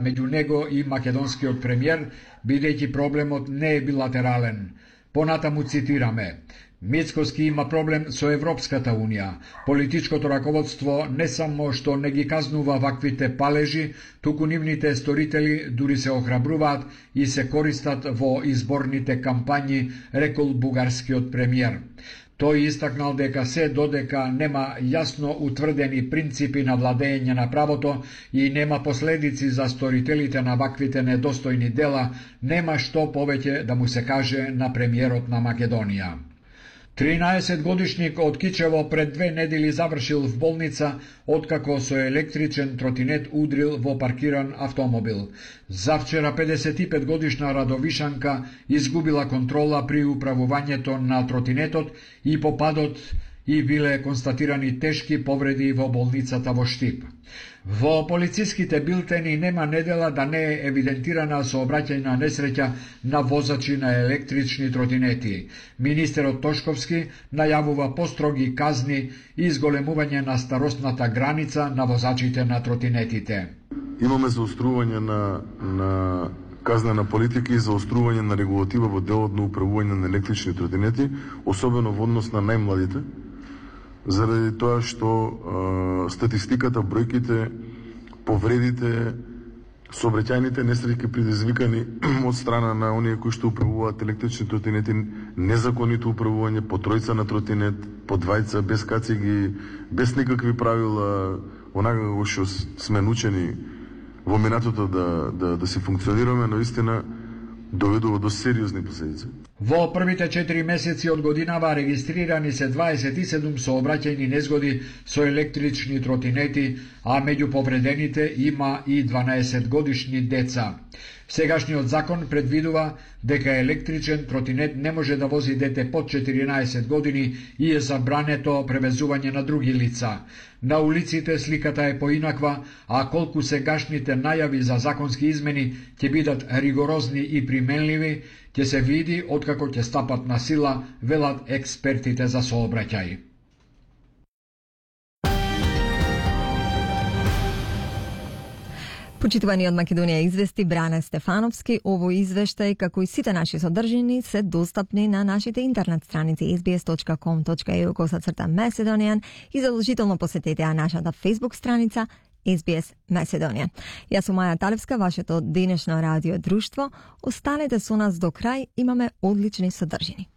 меѓу него и македонскиот премиер, бидејќи проблемот не е билатерален. Понатаму цитираме: Мицкоски има проблем со Европската Унија. Политичкото раководство не само што не ги казнува ваквите палежи, туку нивните сторители дури се охрабруваат и се користат во изборните кампањи, рекол бугарскиот премиер. Тој истакнал дека се додека нема јасно утврдени принципи на владење на правото и нема последици за сторителите на ваквите недостојни дела, нема што повеќе да му се каже на премиерот на Македонија. 13-годишник од Кичево пред 2 недели завршил в болница откако со електричен тротинет удрил во паркиран автомобил. Завчера 55-годишна Радовишанка изгубила контрола при управувањето на тротинетот и по падот и биле констатирани тешки повреди во болницата во Штип. Во полициските билтени нема недела да не е евидентирана сообраќајна несреќа на возачи на електрични тротинети. Министерот Тошковски најавува построги казни и изголемување на старосната граница на возачите на тротинетите. Имаме заострување на казнена политика и заострување на регулатива во делот на управување на електрични тротинети, особено во однос на најмладите, заради тоа што статистиката, бројките, повредите, сообраќајните несреќи предизвикани од страна на оние кои што управуваат електрични тротинети, незаконито управување по тројца на тротинет, по двајца, без кациги, без никакви правила, онака како што сме научени во минатото да се функционираме, наистина доведува до сериозни последици. Во првите 4 месеци од годинава регистрирани се 27 сообраќајни незгоди со електрични тротинети, а меѓу повредените има и 12 годишни деца. Сегашниот закон предвидува дека електричен тротинет не може да вози дете под 14 години и е забрането превезување на други лица. На улиците сликата е поинаква, а колку сегашните најави за законски измени ќе бидат ригорозни и применливи, ќе се види откако ќе стапат на сила, велат експертите за сообраќај. Почитувани од Македонија извести Бране Стефановски, овој извештај, како и сите наши содржини, се достапни на нашите интернет страници sbs.com.eu/Macedonian и задолжително посетете нашата Facebook страница SBS Macedonian. Јас сум Маја Талевска, вашето денешно радио друштво. Останете со нас до крај, имаме одлични содржини.